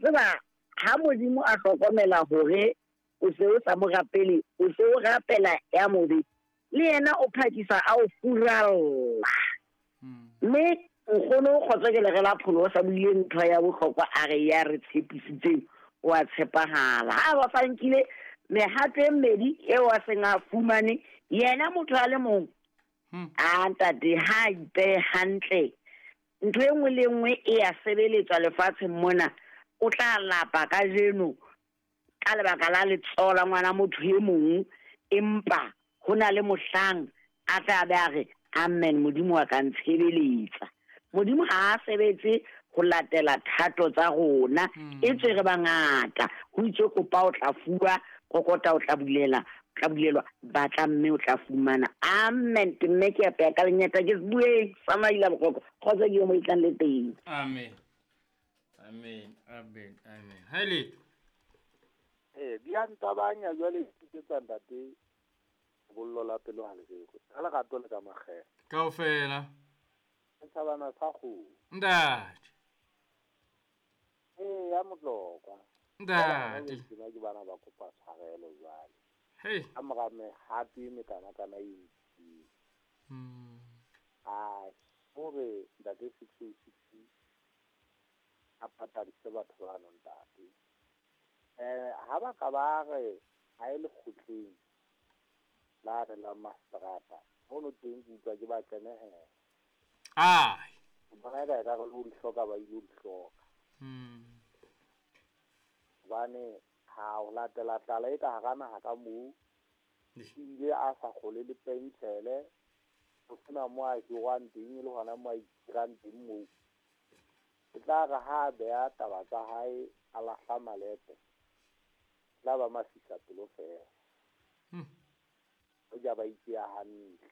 Tseba ha Modimo a hlokomela hore o se o sa mo rapele, o se o rapela ya mobe, le yena o phakisa a o furalla. Mme nkgono Kgotso ke lere la pholo o sa buile ntho ya bohlokwa, a re ya re tshepisitseng o a tshepahala. Ha ba sa nkile mehato e mmedi eo a seng a fumane yena motho a le mong, a ntate ha a ipehe hantle, ntho e nngwe le e nngwe e ya sebeletswa lefatsheng mona, o tla lapa kajeno ka lebaka la letsoho la ngwana motho e mong, empa ho na le mohlang a tla be a re amen, Modimo wa ka ntshebeletsa. Modimo ha a sebetse ho latela thato tsa rona, e tswe re bangata. Ho itswe kopa o tla fuwa, kokota o tla bulela, tla bulelwa, batla mme o tla fumana. Amen. Ke mme ke apeya ka lenyata ke bueng sa maila bokoko. Kgotso ke yo mo itlang le teng. Amen. Amen. Amen. Amen. Ha le. Di a ntabanya jwale ke tsa ntate bollo la pelo ha le rerwe. Ka lerato le ka makgele. Kaofela. Setjhabana sa kgomo. Ntate. Ya Motlokwa. Ntate. Ke bana ba kopa tshwarelo jwale. Hey. Ka mora mehato e mekanakana e ntsi. Ai, hore ntate 606 a patadise batho ba no ntate. Ha ba ka ba re ha e le kgotleng la re la mastrata, hono teng ke utlwa ke ba tsenehela. Ai. Bona ka re lo di hloka ba ile di hloka. Hobane ha o latela tlala e ka hara naha ka moo, ebile a sa kgole le pentshele, ho sena mo a hirwang teng, e le hona mo a ikirang teng moo. E tla re ha a beha taba tsa hae, a lahla malepe, tla ba mafisa pelo feela. Hoja ba ipea hantle.